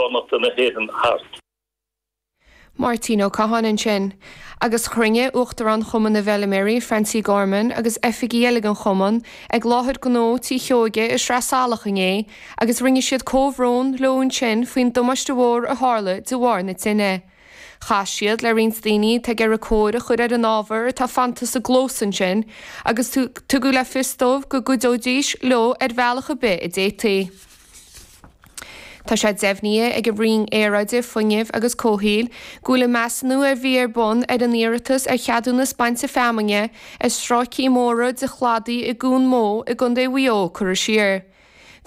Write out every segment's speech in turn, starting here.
saoránachta na hÉireann thart. Máirtín Ó Catháin ansin. Agus chruinnigh Uachtarán Chumann na bhFeilméaraí, Francie Gorman, agus oifigigh eile den chumann ag láthair gnó Tí Sheoige i Sraith Salach inné agus rinne siad comhbhrón leo ansin faoin damáiste mhór a tharla de bharr na tine. Chas siad le roinnt daoine atá ag iarraidh cóir a chur ar an ábhar atá fanta sa gclós ansin agus tugadh le fios dóibh go gcuideoidís leo ar bhealach ar bith a d'fhéadfaí. Tá sé deimhnithe ag an Roinn Aeráide, Fuinnimh agus Comhshaoil go bhfuil an measúnú a bhí ar bun ar an iarratas ar cheadúnas bainte feamainne ar stráicí móra de chladaí i gCuan Mó i gContae Mhaigh Eo curtha siar.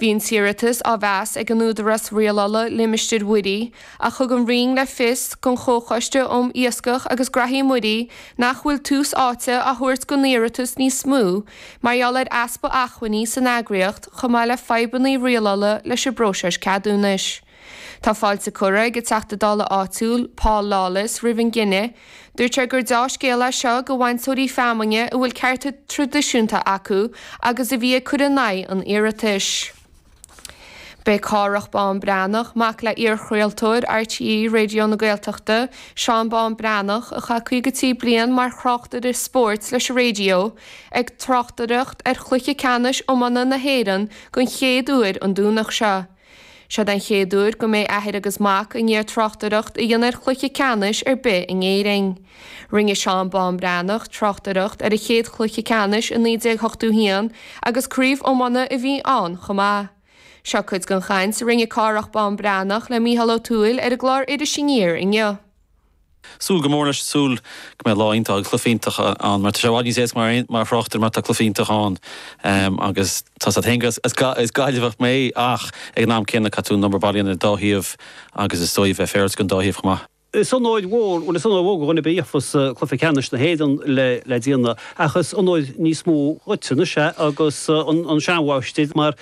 Bhí an t-iarratas á mheas ag an Údarás Rialála Limistéir Mhuirí ach thug an Roinn le fios don Chomhchoiste um Iascach agus Graithí Muirí nach bhfuil tús áite á thabhairt don iarratas níos mó mar gheall ar easpa acmhainní san eagraíocht chomh maith le fadhbanna rialála leis an bpróiseas ceadúnais. Tá fáilte curtha ag an Teachta Dála áitiúil, Paul Lawless, roimh an gcinneadh. Dúirt sé gur deá-scéal é seo do bhainteoirí feamainne a bhfuil cearta traidisiúnta acu agus a bhí ag cur in aghaidh an iarratais. Beidh Cárthach Bán Breathnach, mac le iarchraoltóir RTÉ Raidió na Gaeltachta, Seán Bán Breathnach, a chaith 53 bliain mar thráchtaire spóirt leis an raidió, ag tráchtaireacht ar chluiche ceannais iomána na hÉireann den chéad uair an Domhnach seo. Seo den chéad uair go mbeidh athair agus mac i ndiaidh tráchtaireacht a dhéanamh ar chluiche ceannais ar bith in Éirinn. Rinne Seán Bán Breathnach tráchtaireacht ar an chéad chluiche ceannais i 1981 agus craobh iomána a bhí ann chomh maith. Seo cuid den chaint a rinne Cárthach Bán Breathnach le Mícheál Ó Tuathail ar an gclár Iris Aniar inniu. Súil go mór leis, súil go mbeidh lá iontach agus cluiche iontach ann mar tá sé i bhfad níos éasca mar thráchtaire mar tá cluiche iontach ann agus tá a fhios agat féin gur as Gaillimheach mé ach ag an am céanna caithfidh tú an obair baile a dhéanamh ar an dá thaobh agus is dóigh bheith féaráilte don dá thaobh chomh maith. Is onóir mhór, bhuel is onóir mhór do dhuine ar bith a gheofas cluiche ceannais na hÉireann le déanamh ach is onóir níos mó dhuit anois é agus an seanmháistir mar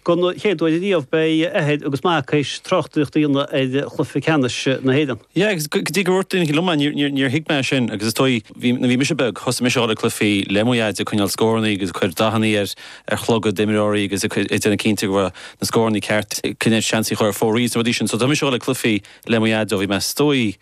don chéad uair ariamh beidh athair agus mac théis tráchtaireacht a dhéanamh ar chluiche ceannais na hÉireann. Yeah agus go dtí gur dhúirt duine liom é níor thuig mé sin agus is dóigh bhí nuair a bhí mise beag thosaigh mise a dhul ag cluichí le mo dhaid ag coinneáil scórannaí agus ag cur dathannaí ar ar chlogaid d'imreoirí agus ag déanamh cinnte go raibh na scórannaí ceart ag seans a chur ar fóraoil is na rudaí sin so tá mise a dhul ag cluichí le mo dhaid ó bhí mé is dóigh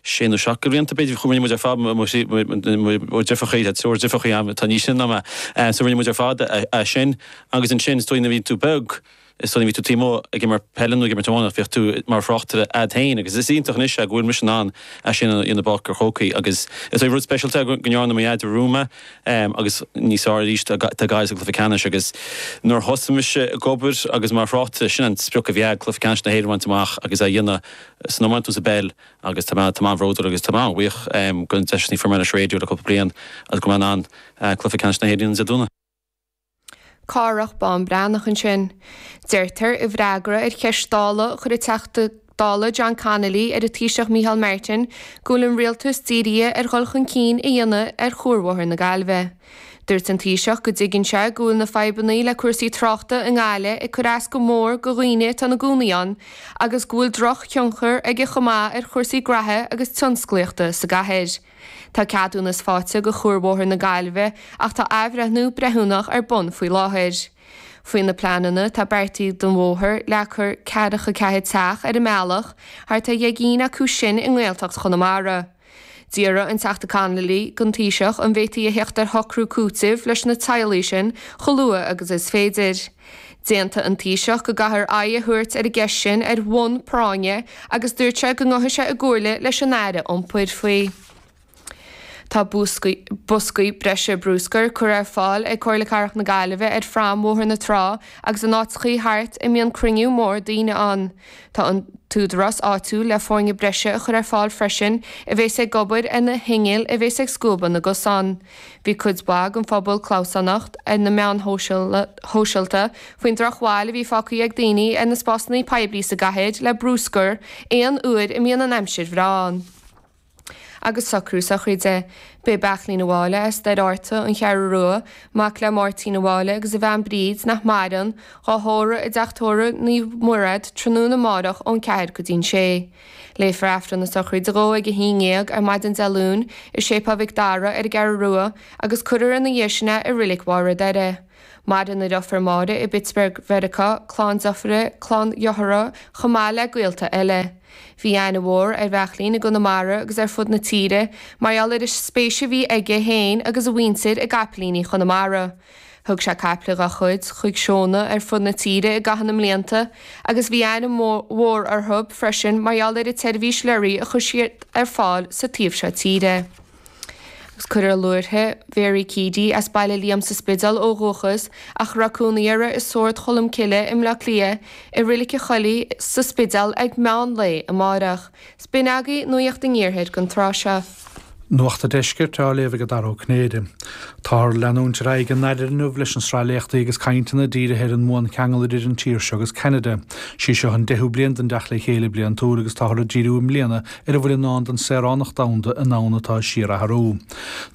sé nó seacht de bhlianta b'fhéidir rinne muid ar fad mo dheirfiúrachaí tá triúr deirfiúrachaí agam atá níos sine ná mé so rinne muid ar fad é sin agus ansin is dóigh nuair a bhí tú beag is dóigh nuair a bhí tú taobh amuigh ag imirt peile nó ag imirt iomána bheadh tú mar thráchtaire a'd féin agus is iontach anois é go bhfuil mise in ann é sin a dhéanamh i bPáirc an Chrócaigh agus is dóigh rud speisialta é go ndearna mo dhaid romham é agus níos fearr arís tá Gaillimh sa gcluiche ceannais agus nuair a thosaigh mise ag obair agus mar thráchtaire, sin an sprioc a bhí a'd, cluiche ceannais na hÉireann a bhaint amach agus é a dhéanamh san iomáint nó sa bpeil agus tá mé tá mé an-bhródúil agus tá mé an-bhuíoch den deis a fuair mé leis an raidió le cúpla bliain agus go mbeidh mé in ann cluiche ceannais na hÉireann a dhéanamh Dé Domhnaigh. Cárthach Bán Breathnach ansin. Deirtear i bhfreagra ar cheist Dála a chuir an Teachta Dála John Connolly ar an Taoiseach Micheál Martin go bhfuil an Rialtas dírithe ar dhul chun cinn a dhéanamh ar Chuarbhóthar na Gaillimhe. Dúirt an Taoiseach go dtuigeann sé go bhfuil na fadhbanna le cúrsaí tráchta i nGaillimh ag cur as go mór go dhaoine atá ina gcónaí ann agus go bhfuil droch-thionchar aige chomh maith ar chúrsaí graithe agus tionsclaíochta sa gcathair. Tá ceadúnas faighte go Chuarbhóthar na Gaillimhe ach tá athbhreithniú breithiúnach ar bun faoi láthair. Faoi na pleananna atá beartaithe don bhóthar, leagfar ceathracha ceathair teach ar an mbealach, thart ar dheich gcinn acu sin i nGaeltacht Chonamara. D'fhiafraigh an Teachta Connolly den Taoiseach an bhféadfaí a theacht ar shocrú cúitimh leis na teaghlaigh sin chomh luath agus is féidir. D'aontaigh an Taoiseach go gcaithfear aghaidh a thabhairt ar an gceist sin ar bhonn práinne agus dúirt sé go ngabhfaidh sé i gcomhairle leis an Aire Iompair faoi. Tá boscaí breise bruscair curtha ar fáil ag Comhairle Cathrach na Gaillimhe ar phrom Bhóthar na Trá agus in áiteachaí thart a mbíonn cruinniú mór daoine ann. Tá an t-údarás áitiúil le foirne breise a chur ar fáil freisin a bhéas ag obair ar na hinnill a bhéas ag scuabadh na gcosán. Bhí cuid mhaith den phobal clamhsánach ar na meáin shóisialta faoin drochbhail a bhí fágtha ag daoine ar na spásanna poiblí sa gcathair le bruscar aon uair a mbíonn an aimsir bhreá ann. Agus socrú sochraide. B'é Beachlín a' Mháille as Doire Fhearta, An Cheathrú Rua, mac le Máirtín A' Mháille agus a bhean Bríd, nach maireann, dhá thórramh i dTeach Tórraimh Naomh Muiread tráthnóna amárach ón 4 go dtí'n 6. Léifear Aifreann na sochraide dhó ag 11 ar maidin Dé Luain i Séipéal Mhic Dara ar an gCeathrú Rua agus cuirfear ina dhiaidh sin é i Reilig Mhaigh Rath Doire. Maireann a dheirfiúr Máire i bPittsburgh, Mheiriceá, clann deirféar, clann dhearthár, chomh maith le gaolta eile. Bhí aithne mhór ar Bheairtlín i gConamara agus ar fud na tíre mar gheall ar an spéis a bhí aige féin agus a mhuintir i gcapaillíní Chonamara. Thug sé caiple dá chuid chuig seónna ar fud na tíre i gcaitheamh na mblianta agus bhí aithne mhór orthu freisin mar gheall ar an tseirbhís leoraí a chuir siad ar fáil sa taobh seo tíre. Agus cuirfear luaithre Mhary Keady as Baile Liam sa Spidéal ó dhúchas ach a raibh cónaí uirthi i Sord Cholm Cille i mBleá Cliath i Reilig an Choilligh sa Spidéal ag meán lae amárach. 'S b'in agaibh Nuacht an Iarthair don tráth seo. Nuacht an Deiscirt á léamh ag Dara Ó Cinnéide. Táthar ag leanúint ar aghaidh i nDairire inniu leis an sraith léachtaí agus cainteanna dírithe ar an mbuancheangal idir an tír seo agus Ceanada. Sí seo an deichiú bliain den dTeacht le Chéile bliantúil agus táthar ag díriú i mbliana ar a bhfuil i ndán don saoránacht domhanda i ndomhan atá ag síorathrú.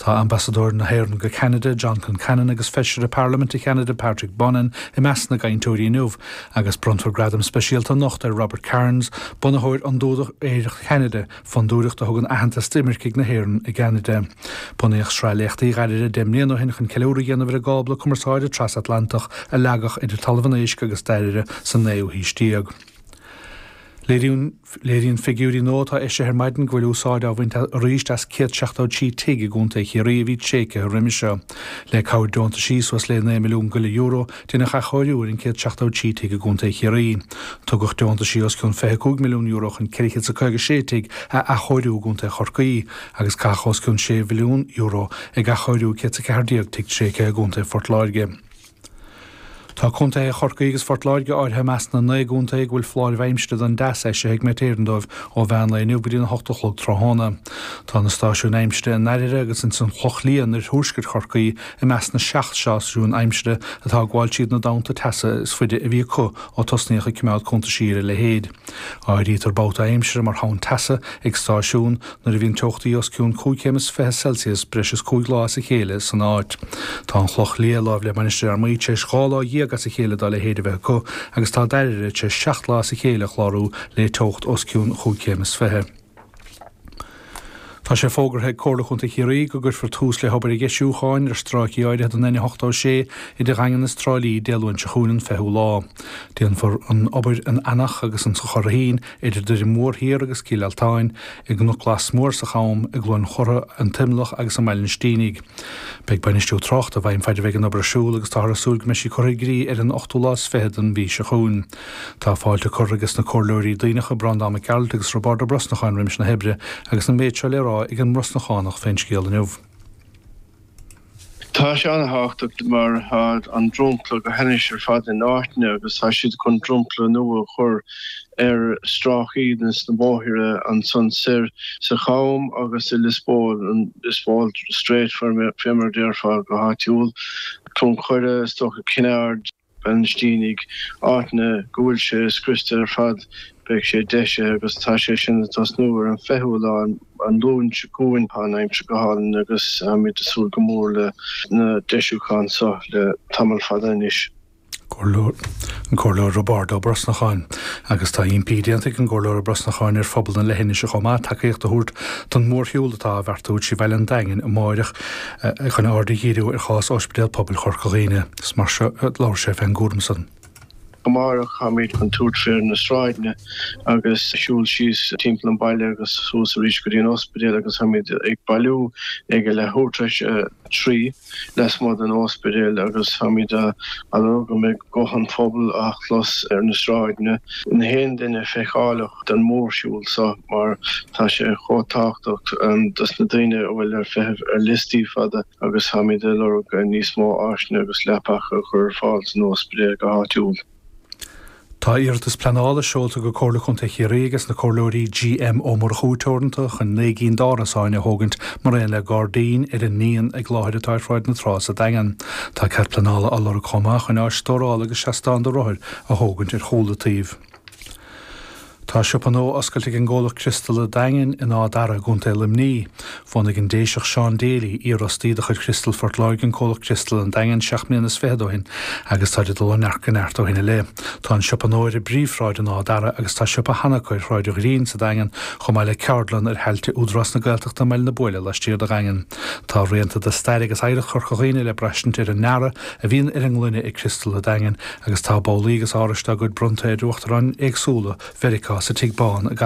Tá Ambasadóir na hÉireann go Ceanada, John Concannon agus Feisire Parlaiminte Cheanada Patrick Bonin i measc na gcainteoirí inniu agus bronnfar gradam speisialta anocht ar Robert Cairns, bunaitheoir Fhondúireacht Cheanada, fondúireacht a thugann aitheantas d'imircigh na hÉireann i gCeanada. Bunaíodh sraith léachtaí Dhairire 10 mbliana ó shin chun ceiliúradh a dhéanamh ar an gcábla cumarsáide trasatlantach a leagadh idir Talamh an Éisc agus Dairire sa naoú haois déag. Léiríonn figiúirí nua atá eisithe ar maidin go bhfuil úsáid á bhaint arís as 173 tigh i gContae Chiarraí a bhí tréigthe roimhe seo. Le cabhair deontaisí suas le €9 milliún go leith euro, deineadh athchóiriú ar an 173 tigh i gContae Chiarraí. Tugadh deontaisí os cionn €25 milliún chun 456 tigh a athchóiriú i gContae Chorcaí agus caitheadh os cionn €6 mhilliún ag athchóiriú 114 tigh tréigthe i gContae Phort Láirge. Tá contaetha Chorcaí agus Phort Láirge áirithe i measc na 9 gcontae go bhfuil foláirimh aimsire don dteas eisithe ag Met Éireann dóibh ó mheán lae inniu go dtí an 8 a chlog tráthnóna. Tá na stáisiúin aimsire i nDairire agus ins an Chloch Liath in oirthuaisceart Chorcaí i measc na 7 stáisiún aimsire atá ag gabháil tríd na dtonnta teasa is faide a bhí acu ó tosnaíodh ag coimeád cuntaisí ar a leithéid. Áirítear babhta aimsire mar thonn teasa ag stáisiún nuair a bhíonn teochtaí os cionn 25 céim Celsius breis is 5 lá as a chéile san áit. Tá an Chloch Liath, láimh le Mainistir Fhear Maí, tar éis 12 lá as a chéile dá leithéid a bheith acu agus tá Dairire tar éis 7 lá as a chéile a chlárú le teocht os cionn 25 céim. Tá sé fógartha ag Comhairle Chontae Chiarraí go gcuirfear tús le hobair dheisiúcháin ar stráicí áirithe den N86 idir Dhaingean is Trá Lí Dé Luain seo chugainn an 20ú lá. Déanfar an obair in Eanach agus insa Churraichín, idir Doire Mór Thiar agus Cill Altáin, i gCnoc Glas Mór sa Cham, i gCluain Chortha, an T-Imleach agus i mBaile an Stínigh. Beidh bainistiú tráchta i bhfeidhm faid a bheidh an obair ar siúl agus táthar ag súil go mbeidh sí curtha i gcrích ar an ochtú lá is fiche den mhí seo chugainn. Tá fáilte curtha ages na Comhairleoirí Duibhneacha, Breandán Mac Gearailt agus Roibeárd Ó Brosnacháin roimis na hoibre agus an méid seo le rá ag an mBrosnachánach fén scéal inniu. Tá sé an-thábhachtach mar tá an dromchla go hainnis ar fad in áiteanna agus tá siad chun dromchla nua a chur ar stráicí de na bóithre ansan soir sa Cham agus i Lios Póil, an Lios Póil Straight fé mar a déarfá go háitiúil, Cluain Choire, is dócha Cinn Aird. Baile an Stínigh, áiteanna go bhfuil sé scriosta ar fad, beidh sé deisithe agus tá sé sin ag tosnú ar an 20ú lá, an Luan seo chugainn. Tá an aimsir go hálainn agus táimid ag súil go mór le na deisiúcháin seo le tamall fada anois. An Comhairleoir Roibeárd Ó Brosnacháin. Agus tá impí déanta ag an gComhairleoir Ó Brosnacháin ar phobal na leithinise chomh maith tacaíocht a thabhairt don mhórshiúl atá á bheartú trí bhaile an Daingin amáireach chun aird a dhíriú ar chás Ospidéal Pobail Chorca Dhuibhne. Is mar seo a labhair sé fén gcúram san. Amárach táimid chun tabhairt fé na sráideanna agus siúl síos timpeall an baile agus suas arís go dtí an ospidéal agus táimid ag bailiú ag a leathuair tar éis a 3 lasmuigh den ospidéal agus táimid á lorg go mbeidh guth an phobail á chlos ar na sráideanna. Na haon duine feiceálach den mhórshiúl seo mar tá sé chomh tábhachtach dos na daoine a bhfuil ar feitheamh ar liostaí fada agus táimid ag lorg níos mó áiseanna agus leapacha a chur ar fáil san ospidéal go háitiúil. Tá iarratas pleanála seolta go Comhairle Chontae Chiarraí ages na Comhairleoirí G.M. Ó Murchú Teoranta chun 9 gcinn d'árasáin a thógaint mar aon le gairdín ar an ndíon ag láthair atá ar Shráid na Trá sa Daingean. Tá cead pleanála á lorg chomh maith chun áis stórála agus seastán do rothair a thógaint ar chúl an tsuímh. Tá siopa nua oscailte ag an gcomhlacht Criostal an Daingin in Áth Dara i gContae Luimnigh. Bhunaigh an Déiseach Seán Daly, iarfhostaí de chuid Chriostal Phort Láirge an comhlacht Criostal an Daingin seacht mbliana is fichead ó shin agus táid ag dul ó neart go neart ó shin i leith. Tá an siopa nua ar an bpríomhshráid in Áth Dara agus tá siopa cheana acu ar Shráid an Ghreen sa Daingean chomh maith le ceardlann ar thailte Údarás na Gaeltachta i mBaile na Buaile laistiar de Dhaingean. Tá rianta de stair agus oidhreacht Chorca Dhuibhne le braistint ar an ndearadh a bhíonn ar an ngloine ag Criostal an Daingin agus tá babhlaí agus árais dá gcuid bronnta ar uachtaráin éagsúla Mheiriceá sa Tigh Bán i.